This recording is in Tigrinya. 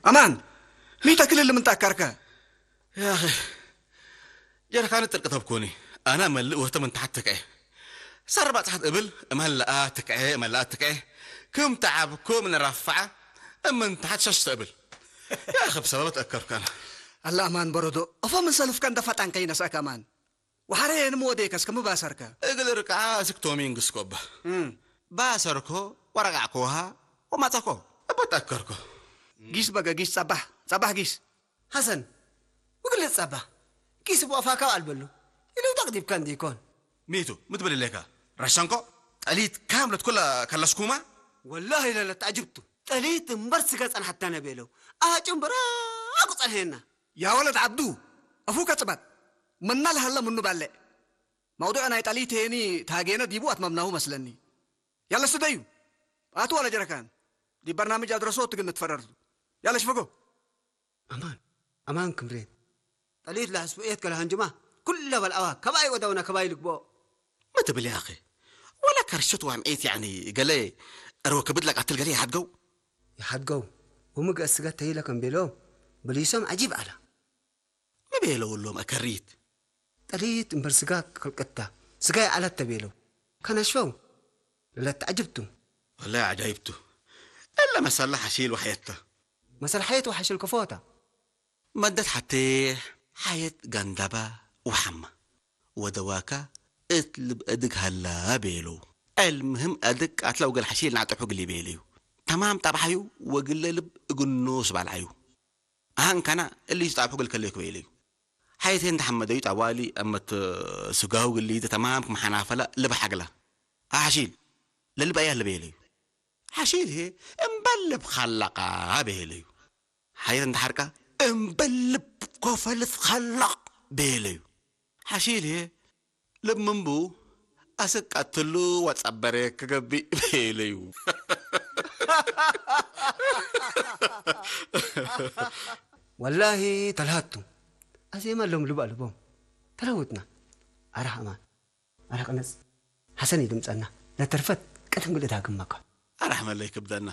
ኣማን፣ ሚተ ክልል ምንታይ ኣካርከ? ያኺ፣ ጀርካን ጥርቂ ተብኮኒ። ኣና መልእ ወህተ ምን ተሓት ትክዐ። ሳር ባጽሓት እብል፣ እመለኣ ትክዐ፣ እመለኣ ትክዐ። ክም ተዓብ፣ ክም ንራፋዓ፣ እምን ተሓት ሸሽተ እብል። ያኺ፣ ብሰበበት ኣከርካና። ኣላ ኣማን በረዶ፣ እፎ ምን ሰልፍከ እንደ ፈጣን ከይነስአከ ኣማን። ወሓረ የንም ወዴከስ ከም ባሰርከ። እግል ርቃ ስክቶሚ እንግስኮባ። እም። ባሰርኮ፣ ወረቃዕኮ ውሃ፣ ወማጸኮ። እቦት ኣከርኮ። ጊስ በገ ጊስ ጸባሕ፣ ጸባሕ ጊስ። ሐሰን፣ ውግል ጸባሕ። ጊስ ቦፋ ካብ ኣልበሉ። ኢሉ ተቅዲብካ እንዲኮን። ሚቱ፣ ምትብል ሌካ። ረሸንኮ፣ ጠሊት ካምለት ኩላ ከለስኩማ? ወላሂ ለለት ተዕጅብቱ። ጠሊት እምበር ስጋ ጸንሐታ ነበለው። ኣጭምብራ ኣቁ ጸንሐና። ያ ወለድ ዓብዱ፣ ኣፉከ ጽበብ። መና ለሀለ ምኑ ባልዕ። መውዱዕ ናይ ጠሊት ሄኒ ታጌነ ዲቡ ኣትመምናሁ መስለኒ። ያለ ስደዩ። ኣቱ ዋለ ጀረካን። ዲ በርናምጅ ኣድረሶ ትግን ትፈረርቱ። ያለ ሽፈጎ። ኣማን፣ ኣማን ክምሬት። ጠሊት ለሐስቡ ኤት ከለ ሃንጅማ። ኩለ በልኣዋ። ከባይ ወደውና ከባይ ልግቦ። ምትብል ያኺ። ወላ ከርሽት ዋምዒት ያዕኒ ገለ እርወ ክብድ ለቃትል ገለ ይሓድገው። ይሓድገው። ወምግእ ስገት ተይለ ከም ቤሎም። ብልይሶም ዓጂብ ኣላ። ምቤለውሎም ኣከሪት። ጠሊት እምበር ስጋ ክልቅታ። ስጋ ይዓለት ተቤለው። ከነሽፈው። ለለት ተዓጅብቱ። ወላ ዓጃይብቱ። እለ መሰላ ሓሺል ወሓየታ። መሰል ሓየት ወሓሽል ከፎታ። መደት ሓቴ ሓየት ጋንዳባ ወሓማ። ወደዋካ እት ልብ እድግ ሃላ ቤለው። ዕልምህም እድግ ቃትላ ወገል ሓሺል ናዕጠሑ ግሊ ቤለዩ። ተማም ጣብሓዩ ወግለ ልብ እግኖ ስባልዓዩ። ኣሃንካና እሊ ዝጣብሑ ግል ከለዩ ክበይለዩ። ሓየቴ እንተሓመደዩ ጣዋሊ ኣመት ስጋው ግሊ ተማም ክመሓናፈላ ልብ ሓግላ። ኣሓሺል ለልብ ኣያ ልበየለዩ። ሓሺል ሄ እምበል ልብ ኻላቃ ቤለዩ። ሓየት እንተሓርቃ እምበል ልብ ኮፈልት ኻላቕ ቤለዩ። ሓሺል ሄ ልብ ምንቡ ኣስቃትሉ ወጸበረ ክገብእ ቤለዩ። ወላሂ ተልሃቱ። ኣዜማ ሎም ልብ ኣልቦም። ተለውጥና። ኣራህ ኣማን። ኣራህ ቅነጽ። ሓሰን ይድምጸና። ለተርፈት ቀደም ግልእ ዳግመካ። ኣራህ መለይ ክብደና።